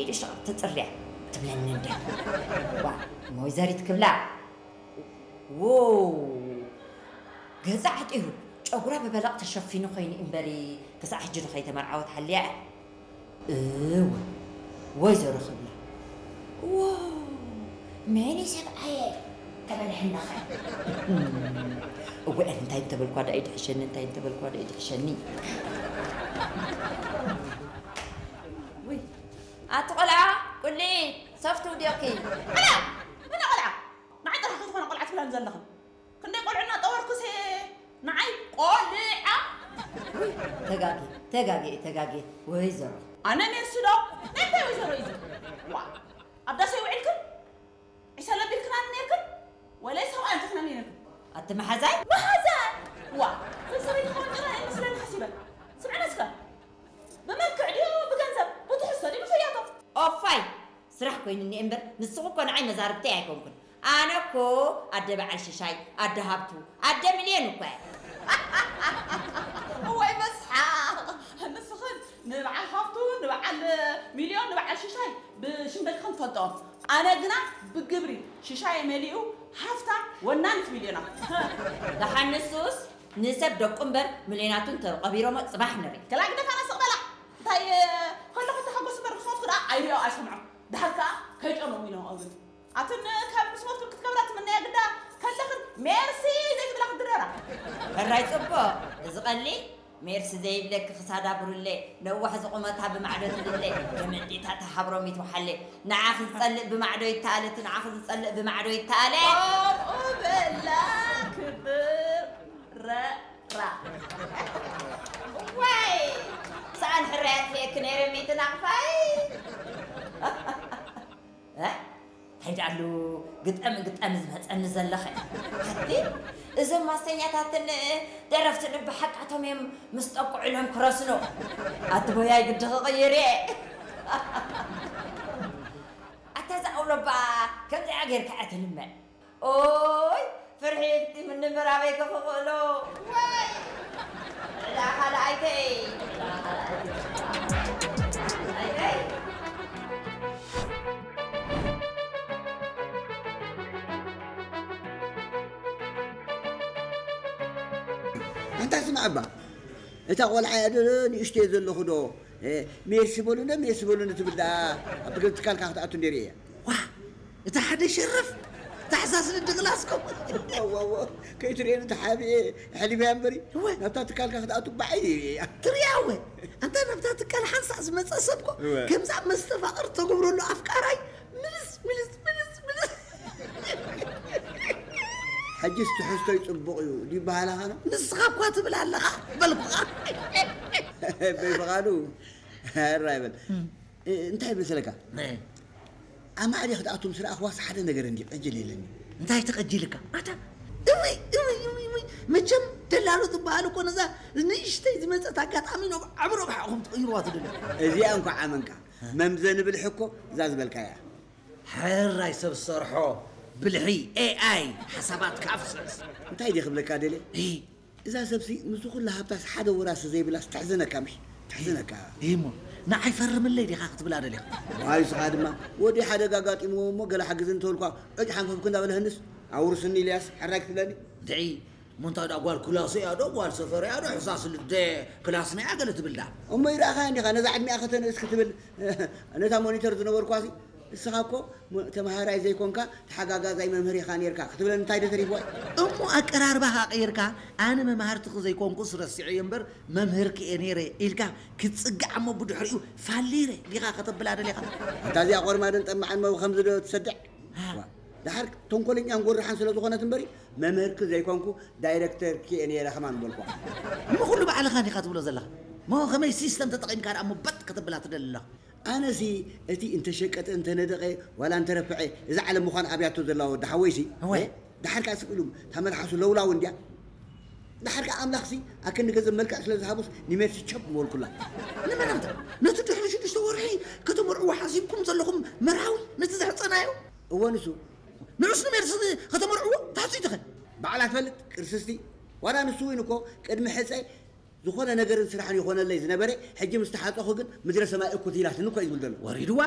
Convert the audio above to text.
ኢሉ ሽቕብ ትጽርያ ትብለኒ እንድያ። ዋ፣ እሞ ወይዘሪት ክብላ፣ ዎ፣ ገዛ ዓጢሩ፣ ጨጉራ ብበለቕ ተሸፊኑ ኮይኑ እምበሪ፣ ክሳዕ ሕጂ ዶ ከይተመርዓወት ሓልያ እያ? እወ፣ ወይዘሮ ክብላ። ዎ፣ መን እዩ ሰብኣየ? ተበልሐናኸ። እወ፣ እንታይ እንተበልኳ ደኣ ይድሕሸኒ፣ እንታይ እንተበልኳ ደኣ ይድሕሸኒ። ውይ፣ ኣቲ ቆልዓ፣ ቁሊ፣ ሶፍት ውዲቕኪ። ቆልዓ! መን ቆልዓ? ንዓይ ጥራሕ ክትኾነ ቆልዓ ትብላኒ ዘለኽን? ክንደይ ቆልዑ እናጠወርኩስ ንዓይ ቆልዓ? ውይ፣ ተጋጌ፣ ተጋጌ፣ ተጋጌ፣ ወይዘሮ። ኣነ ሜርሲ ዶ? ናይ እንታይ ወይዘሮ እዩ እዚ? ዋ፣ ኣብ ዳስ ኣይውዕልክን? ዒሰ ለቢልክናኒ ነይርክን? ወለይ ሰብኣይ ኣምጺኽናኒ ነይርክን? ኣቲ መሓዛይ? መሓዛይ! ዋ፣ ሰብ ሰበይቲ ክኸውን ጥራይ ኣይመስለኒ ሓሲበ። ስምዕኒ እስከ። ብመልክዕ ድዩ ብገንዘብ? ብትሕዝቶ ድዩ ብፍያቶ? ኦፋይ! ስራሕ ኮይኑኒ እምበር፣ ንስኹ እኮ ንዓይ መዛርብተይ ኣይኮንኩን። ኣነ እኮ ኣደ በዓል ሽሻይ፣ ኣደ ሃብቱ፣ ኣደ ሚልዮን እኮ እየ። እዋይ መስሓቕ! ንስኽን ንበዓል ሃብቱ፣ ንበዓል ሚልዮን፣ ንበዓል ሽሻይ ብሽም ደቅኽን ትፈልጥኦም። ኣነ ግና ብግብሪ ሽሻይ መሊኡ ሃፍታም ወናኒት ሚልዮና። ደሓን ንሱስ ንሰብ ደቁ እምበር ሚልዮናቱ እንተቐቢሮሞ ጽባሕ ንርኢ። ከላ ግደፋና ስቕ በላ። እንታይ ከለኹ ተሓጎስ እምበር ምስ ሞትኩ ደኣ ኣይሪኦ ኣይሰምዖ። ደሓር ከኣ ከይጨመሙ ኢሎም ኣውርድ። ኣትን ካብ ምስ ሞትክን ክትከብራ ትምነያ ግዳ ከለኽን ሜርሲ ዘይትብላ ክትድረራ። ሕራይ ጽቡቕ። እዚ ቀሊል ሜርሲ ዘይብለኪ ክሳዳ ብሩሌ፣ ነዋሕ ዝቑመታ ብማዕዶ ትድለ፣ ገመዴታ ተሃብሮም ይትውሓሌ። ንዓኺ ዝጸልእ ብማዕዶ ይተኣለ፣ እቲ ንዓኺ ዝጸልእ ብማዕዶ ይተኣለ። ከምኡ በላ ክብር ረራ። ዋይ! ሰኣን ሕራይ ኣጥፊኤኪ ነይረ ሚእቲ ናቕፋይ። እ? እንታይ ደኣሉ ግጠም ግጠም ዝመጸኒ ዘለኸ? ኣቲ እዞም ማስተኛታትን ደረፍትን ብሓቃቶም እዮም ምስ ጠቅዑ ኢሎም ክረስኑ። ኣቲ ቦያይ ግዲ ክቕይር እየ። ኣታ እዛ ኣውሎባ ከምዚኣ ጌርካ እያ ትልመን። ኦይ፣ ፍርሒ እቲ ምንምር ኣበይ ከኽኽእሎ? ወይ! ዕዳ ካልኣይተይ! ዕዳ ካልኣይተይ! ኣንታ ስማዕ እባ፣ እታ ቆልዓ እያ ዶ ንእሽተይ ዘለኹ ዶ? እ፣ ሜርሲ በሉኒ፣ ሜርሲ በሉኒ ትብል ደኣ ኣብ ትካልካ ክትኣቱ እንደ ርእየ። ዋ፣ እታ ሓደ ሸረፍ፣ እታ ሕሳስ ንድግላስኮ። እዋ፣ እዋ፣ ከይትርእየኒ ተሓቢኤ፣ ኣሕሊፈያ እምበሪ፣ እወ። ናብታ ትካልካ ክትኣቱ ብዓይኒ ርእያ። ትርእያ እወ። ኣንታ ናብታ ትካል ሓንሳእ ዝመጸ ሰብኮ፣ እወ። ከምዛ መስተፋቕር ተገብረሉ ኣፍቃራይ፣ ምልስ፣ ምልስ፣ ምልስ፣ ምልስ። ሕጂስ ትሕዝቶይ ጽቡቕ እዩ ድዩ ይበሃል ኣኻኖ? ንስኻ እኳ ትብል ኣለኻ፣ በልኩኻ። በይፍቓዱ፣ ሕራይ በል። እም። እ፣ እንታይ መሰለካ? እ። ኣማዕድየ ክትኣቱ ምስ ረኣኽዋስ ሓደ ነገር እንዲ ቀጅል የለኒ። እንታይ ተቐጂልካ? ኣታ፣ እውይ፣ እውይ፣ እውይ፣ እውይ። መቸም ደላሎ ትበሃል እኮ ነዛ ንእሽተይ ዝመጸት ኣጋጣሚ ናብ ዓቢ ረብሓ ኢኹም ትቕይርዋ ትደልዩ። እዚኣ እንኳዕ ኣመንካ። እ። መምዘኒ ብልሒ እኮ እዛ ዝበልካያ። ሕራይ ሰብ ዝሰርሖ ብልሒ ኤኣይ ሓሳባትካ ኣፍስስ። እንታይ ድየ ክብለካ ደልየ? እይ። እዛ ሰብሲ ምስዚ ኩላ ሃብታስ ሓደ ወራሲ ዘይብላስ ተሕዝነካ ምሽ? ተሕዝነካ። እሞ ንዓይ ፈርምለይ ዲኻ ክትብላ ደሊኻ? ዋይ፣ ንስኻ ድማ ወዲ ሓደጋ ኣጋጢምዎ እሞ ገለ ሓግዝ እንተበልኳ ዕጭ ሓንፈፍኩ እንዳበለ ህንስ ኣውርስኒ ኢልያስ ሕራይ ክትብለኒ? ድዒ፣ እሞ እንታይ ደኣ ጓል ክላስ እያ ዶ ጓል ሰፈር እያ ዶ ሕሳስ ልደ ክላስና እያ ገለ ትብል ደኣ? እሞ ይረኣኻ እንዲኻ ነዛ ዕድሚኣ ከተንእስ ክትብል ነታ ሞኒተር ዝነበርኳሲ እስኻ እኮ ሞ-፣ ተምሃራይ ዘይኮንካ ተሓጋጋዛይ መምህር ኢኻ ኔርካ ክትብለኒ እንታይ ዶ ተሪፍዋ እዩ? እሞ ኣቀራርባኻ ቀይርካ፣ ኣነ መማህርትኺ ዘይኮንኩስ ረሲዐዮ እምበር መምህርኪ እየ ኔረ ኢልካ ክትጽጋዕ እሞ ብድሕሪኡ ፋሊረ ዲኻ ከተብላ ደሊኻ? ኣንታ እዚኣ ቆርማድን ጠማዕን መው ከምዚ ዶ ትሰድዕ? ሃ። ዋ፣ ደሓር ተንኮለኛን ጎራሕን ስለ ዝኾነት እምበሪ መምህርኪ ዘይኮንኩ ዳይረክተርኪ እየ ኔረ ከማን በልኳ። እሞ ኩሉ ባዕልኻ ዲኻ ትብሎ ዘለኻ? እሞ ከመይ ሲስተም ተጠቒምካ ደኣ እሞ በጥ ከተብላ ትደሊ ኣለኻ? ኣነሲ እቲ እንተሸቀጠ፣ እንተነደቐ፣ ዋላ እንተረፍዐ፣ እዛ ዓለም ምዃን ኣብያቶ ዘላ ወዲ ሓወይሲ፣ እወ። እ፣ ደሓር ከኣ ስቕ ኢሉ፣ እታ መልሓሱ ለውላው እንድያ። ደሓር ከኣ ኣምላኽሲ ኣከንዲ ገንዘብ መልክዕ ስለ ዝሃቡስ ንሜርሲ ቸብ ምበልኩላ። ንመን ኣንታ? ነቲ ድሕሪ ሽዱሽተ ወርሒ ከተመርዕዎ ሓሲብኩም ዘለኹም መርሃዊ፣ ነቲ ዘሕጸናዮ? እወ፣ ንሱ። ንዑስ ንሜርሲ ከተመርዕዎ ትሓስቡ ኢኹም? ባዕላ ትፈልጥ፣ ቅርስስቲ። ዋላ ንሱ እውን እኮ ቅድሚ ሕጸ ዝኾነ ነገርን ስራሕን ይኾነለይ ዝነበረ፣ ሕጂ ምስ ተሓጸኹ ግን ምድረ ሰማይ እኩት ኢላትኒ እኮ እዩ ዝብል ዘሎ። ወሪድዋ?